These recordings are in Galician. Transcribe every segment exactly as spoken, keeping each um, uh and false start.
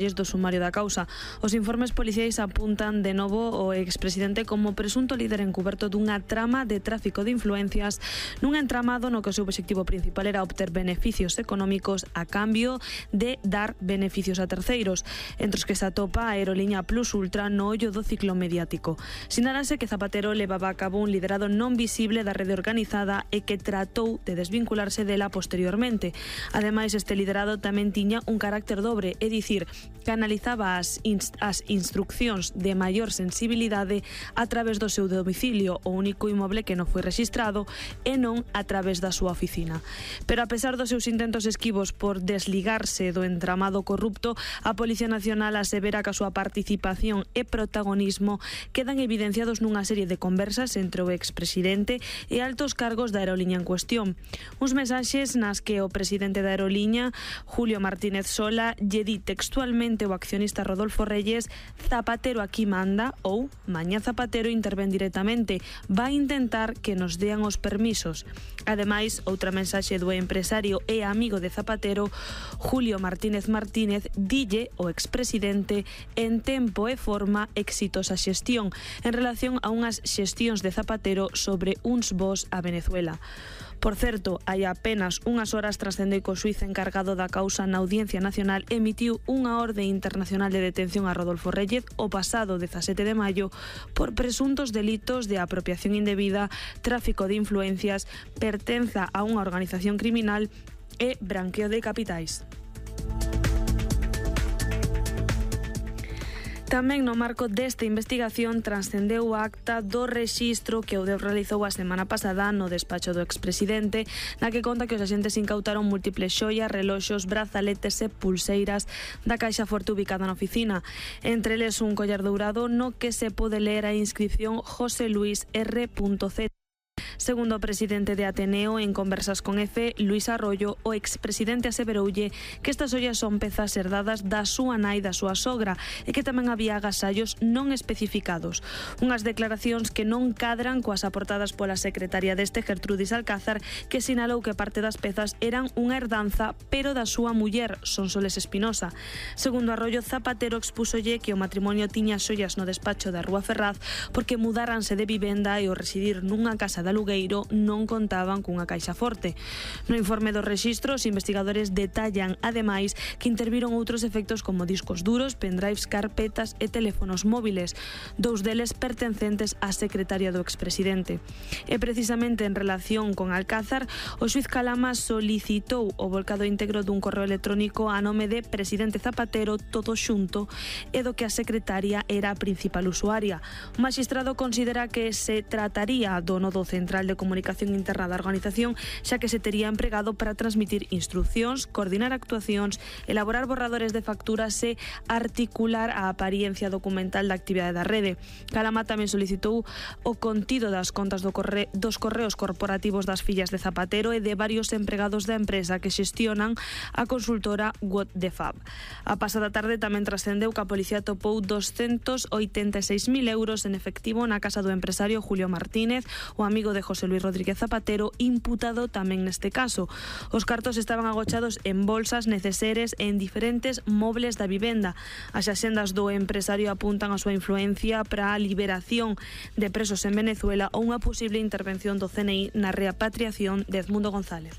do sumario da causa. Os informes policiais apuntan de novo o expresidente como presunto líder encuberto dunha trama de tráfico de influencias nun entramado no que o seu obxectivo principal era obter beneficios económicos a cambio de dar beneficios a terceiros, entre os que se atopa a aeroliña Plus Ultra no ollo do ciclo mediático. Sinalase que Zapatero levaba a cabo un liderado non visible da rede organizada e que tratou de desvincularse dela posteriormente. Ademais, este liderado tamén tiña un carácter dobre, é dicir, que analizaba as, inst as instruccións de maior sensibilidade a través do seu domicilio, o único inmoble que non foi rexistrado, e non a través da súa oficina. Pero a pesar dos seus intentos esquivos por desligarse do entramado corrupto, a Policía Nacional asevera que a súa participación e protagonismo quedan evidenciados nunha serie de conversas entre o expresidente e altos cargos da aeroliña en cuestión. Uns mensaxes nas que o presidente da aeroliña, Julio Martínez Sola, lle di textualmente o accionista Rodolfo Reyes: Zapatero aquí manda, ou mañá Zapatero intervén directamente, vai intentar que nos dean os permisos. Ademais, outra mensaxe do empresario e amigo de Zapatero, Julio Martínez Martínez, dille o expresidente en tempo e forma exitosa xestión en relación a unhas xestións de Zapatero sobre uns voos a Venezuela. Por certo, hai apenas unhas horas trascendeu que o xuíz encargado da causa na Audiencia Nacional emitiu unha orde internacional de detención a Rodolfo Reyes o pasado dezasete de maio por presuntos delitos de apropiación indebida, tráfico de influencias, pertenza a unha organización criminal e branqueo de capitais. Tamén no marco desta investigación transcendeu o acta do rexistro que o Deus realizou a semana pasada no despacho do expresidente, na que conta que os axentes incautaron múltiples xoias, reloxos, brazaletes e pulseiras da caixa forte ubicada na oficina. Entre eles un collar dourado no que se pode ler a inscripción José Luis R Z. Segundo o presidente de Ateneo, en conversas con Efe, Luis Arroyo, o expresidente aseveroulle que estas ollas son pezas herdadas da súa nai da súa sogra e que tamén había agasallos non especificados. Unhas declaracións que non cadran coas aportadas pola secretaria deste, Gertrudis Alcázar, que sinalou que parte das pezas eran unha herdanza, pero da súa muller, Sonsoles Espinosa. Segundo Arroyo, Zapatero expúsolle que o matrimonio tiña xollas no despacho da Rúa Ferraz porque mudáranse de vivenda e o residir nunha casa de alugueiro non contaban cunha caixa forte. No informe dos rexistros, os investigadores detallan, ademais, que interviron outros efectos como discos duros, pendrives, carpetas e teléfonos móviles, dous deles pertencentes á secretaria do expresidente. E precisamente en relación con Alcázar, o xuíz Calama solicitou o volcado íntegro dun correo electrónico a nome de presidente Zapatero, todo xunto, e do que a secretaria era a principal usuaria. O magistrado considera que se trataría do nodo central de comunicación interna da organización, xa que se tería empregado para transmitir instruccións, coordinar actuacións, elaborar borradores de facturas e articular a apariencia documental da actividade da rede. Calama tamén solicitou o contido das contas do corre dos correos corporativos das fillas de Zapatero e de varios empregados da empresa que xestionan a consultora What the Fab. A pasada tarde tamén trascendeu que a policía topou doscientos oitenta e seis mil euros en efectivo na casa do empresario Julio Martínez, o amigo de José Luis Rodríguez Zapatero, imputado tamén neste caso. Os cartos estaban agochados en bolsas, neceseres e en diferentes mobles da vivenda. As axendas do empresario apuntan a súa influencia para a liberación de presos en Venezuela ou unha posible intervención do C N I na repatriación de Edmundo González.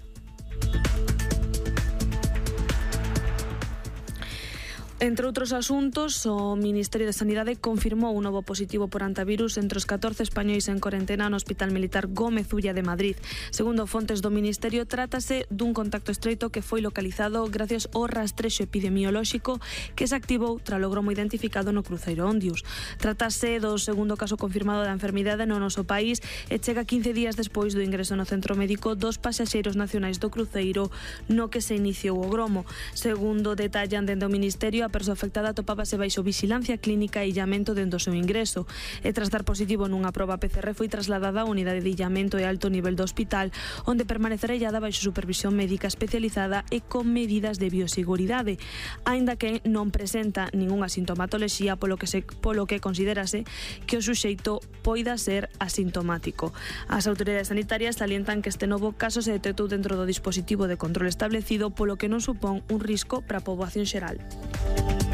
Entre outros asuntos, o Ministerio de Sanidade confirmou un novo positivo por antivirus entre os catorce españois en corentena no Hospital Militar Gómez Ulla de Madrid. Segundo fontes do Ministerio, trátase dun contacto estreito que foi localizado gracias ao rastrexo epidemiolóxico que se activou tras o gromo identificado no cruceiro Ondius. Trátase do segundo caso confirmado da enfermidade no noso país e chega quince días despois do ingreso no centro médico dos pasaxeiros nacionais do cruceiro no que se iniciou o gromo. Segundo detallan dende o Ministerio, a persoa afectada atopábase baixo vixilancia clínica e illamento dende o seu ingreso e tras dar positivo nunha proba P C R foi trasladada á unidade de illamento e alto nivel do hospital, onde permanecerá illada baixo supervisión médica especializada e con medidas de bioseguridade, aínda que non presenta ningunha sintomatoloxía, polo que se polo que considérase que o suxeito poida ser asintomático. As autoridades sanitarias salientan que este novo caso se detectou dentro do dispositivo de control establecido, polo que non supón un risco para a poboación xeral.